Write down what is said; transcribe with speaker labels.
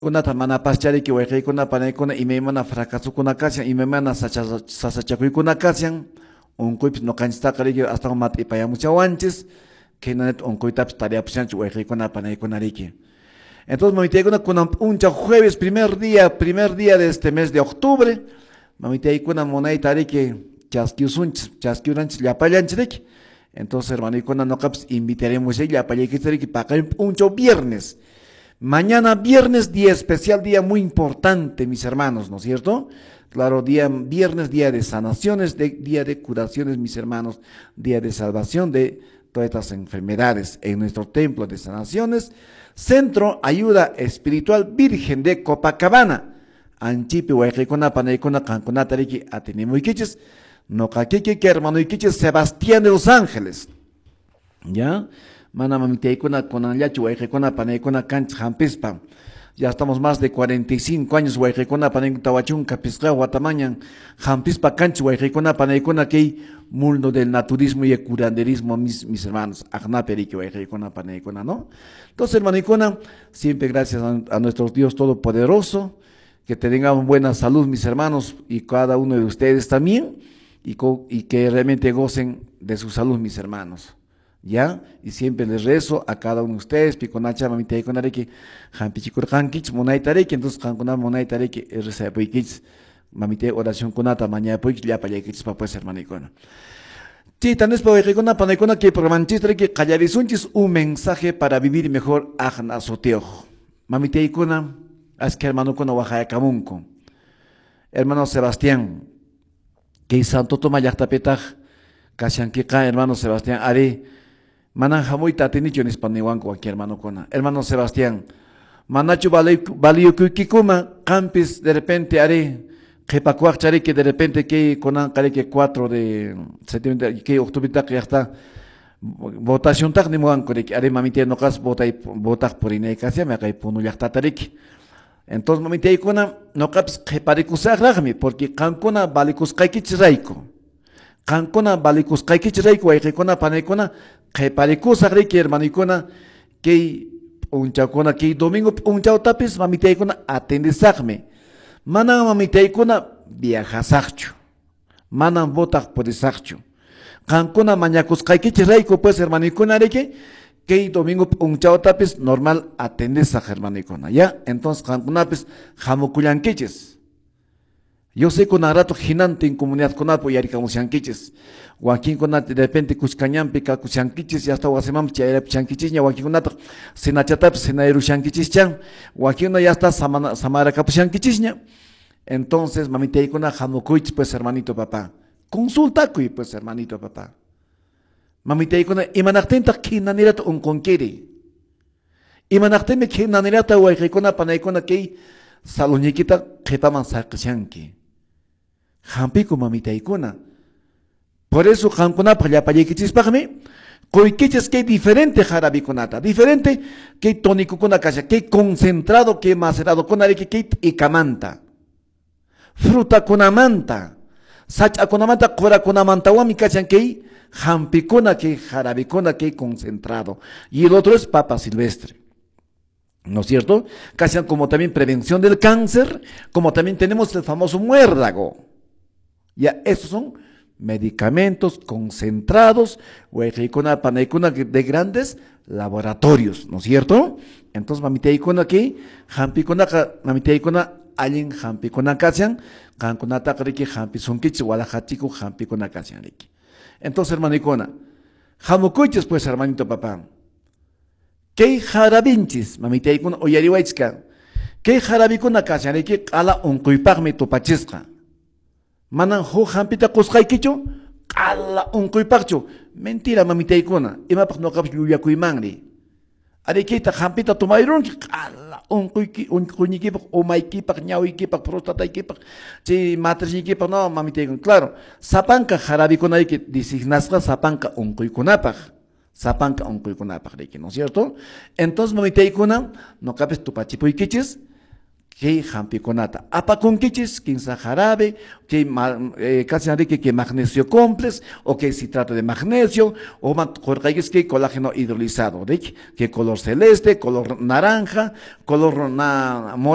Speaker 1: Kunata manapaschariki wayqiykuna panaykuna imaymana fracasokuna kashan, imaymana sasachakuykuna kashan, unquypis ñuqanchistaqa riki astawan mat'ipayamuchawanchis, khaynanata unquytapis tariyapushanchis wayqiykuna panaykuna riki. Entonces mamitaykuna kunan p'unchaw jueves primer día de este mes de octubre, mamitaykuna munayta riki chaskiusunchis, chaskiuranchis llapallanchis riki. Entonces hermanoykuna ñuqapis invitaremushay llapallaykichis riki paqarin p'unchaw viernes. Mañana viernes, día especial, día muy importante, mis hermanos, ¿no es cierto? Claro, día viernes, día de sanaciones, día de curaciones, mis hermanos, día de salvación de todas estas enfermedades en nuestro templo de sanaciones, Centro Ayuda Espiritual Virgen de Copacabana. Anchipi, wayqikuna, panaykuna, qankunata riki atinimuykichis, noqakiki, hermanoykichis, Sebastián de Los Ángeles. ¿Ya? Mana mamitaykuna kunanllachu wayqikuna panaykuna kanchis hampispa. Ya estamos más de 45 años wayqikuna panaykuna tawachunka pisqa watamañan hampispa kanchis wayqikuna panaykuna kay mundo del naturismo y el curanderismo, mis hermanos, aqnapi riki wayqikuna panaykuna, ¿no? Entonces, hermanoykuna, siempre gracias a nuestro Dios Todopoderoso, que tengamos buena salud, mis hermanos, y cada uno de ustedes también, y que realmente gocen de su salud, mis hermanos. ¿Ya? Y siempre les rezo a cada uno de ustedes, pikunacha mamitaykuna riki, hampichikurqankichis munayta riki, entonces qankuna munayta riki, rezapuykichis, mamitay oracionkunata mañapuykichis, llapallaykichis pues, hermanoykuna. Chayta nispa wayqikuna panaykuna kay programanchista riki qallarisunchis un mensaje para vivir mejor aqna sutiyuq. Mamitaykuna, aska hermanokuna waqayakamunku. Hermano Sebastián, kay Santo Tomás llaqtapitaq kashankiqa, hermano Sebastián, ari, manan hamuyta atinichu nispa niwanku wakin hermanokuna. Hermano Sebastián, manachu valiyukuykikuma qampis de repente ari qhipakuwaqchariki de repente kay kunanqa riki 4 de septiembre kay octubretaqa llaqta votaciontaq nimuwanku riki ari mamitay nuqas votay votaq purinay kashan kay Puno llaqtata riki. Entonces mamitaykuna nuqapis qhiparikusaqraqmi porque qankuna valikusqaykichis rayku. Qankuna valikusqaykichis rayku wayqikuna panaykuna qhiparikusaq riki hermanoykuna kay p'unchawkuna kay domingo p'unchawtapis mamitaykuna atendisaqmi. Manam mamitaykuna viajasaqchu. Manam votaq purisaqchu. Qankuna mañakusqaykichis rayku pues hermanoykuna riki kay domingo p'unchawtapis normal atendisaq hermanoykuna. Ya, entonces qankunapis hamukullankichis. Yo sé kunan rato hinantin comunidadkunapi uyarikamushankichis. Wakinkuna de repente kushkañanpi kakushankichis, ya hasta wasimanpi chayrapushankichisña, wakinkunataq cenachatapis cenayarushankichischa, wakinkuna ya hasta samarakapushankichisña. Entonces, mamitaykuna hamukuychis pues hermanito papá. Consultakuy pues hermanito papá. Mamitaykuna imanaqtintaq khinanirata unqunkiri. Imanaqtinmi khinanirata wayqikuna panaykuna kay saludniykita qhipaman saqishanki. Hampiku mamitaykuna. Por eso qankunapaq llapallaykichispaqmi quykichis kay diferente jarabikunata, diferente kay tónicokuna kashan, kay concentrado, kay maceradokuna riki kay t'ikamanta, frutakunamanta, sach'akunamanta, qurakunamantawanmi kashan kay hampikuna, kay jarabikuna, kay concentrado. Y el otro es papa silvestre. ¿No es cierto? Kashan como también prevención del cáncer, como también tenemos el famoso muérdago. Ya, esos son medicamentos concentrados, wayqikuna, panaykuna de grandes laboratorios, ¿no es cierto? Entonces, mamitaykuna aquí, hampikunaqa, mamitaykuna allin hampikuna kashan, qankunataqa riki hampisunkichis, walajachiku hampikuna kashan riki. Entonces, hermanoykuna, hamukuychis pues, hermanito papá. Kay jarabinchis, mamitaykuna uyariwaychika, kay jarabikuna kashan riki q'ala unquypaqmi tupachisqa. Manan huk hampita qusqaykichu, q'ala unquypaqchu. Mentira, mamitaykuna, imapaq nuqapis llullakuymanri. Arikita hampita tomayrunki, q'ala unquyki, unquyniykipaq, umaykipaq, ñawiykipaq, prostataykipaq, chay matrisniykipaq, no, mamitaykuna. Claro, sapanka jarabikunayki designasqa sapanka unquykunapaq. Sapanka unquykunapaq riki, ¿no es cierto? Entonces, mamitaykuna, nuqapis tupachipuykichis, Kay hampikunata apakunkichis, kinsa jarabe, kay kashan riki kay magnesio complex, o kay citrato de magnesio, o qurqaykis kay colágeno hidrolizado, riki, kay color celeste, color naranja, color morado.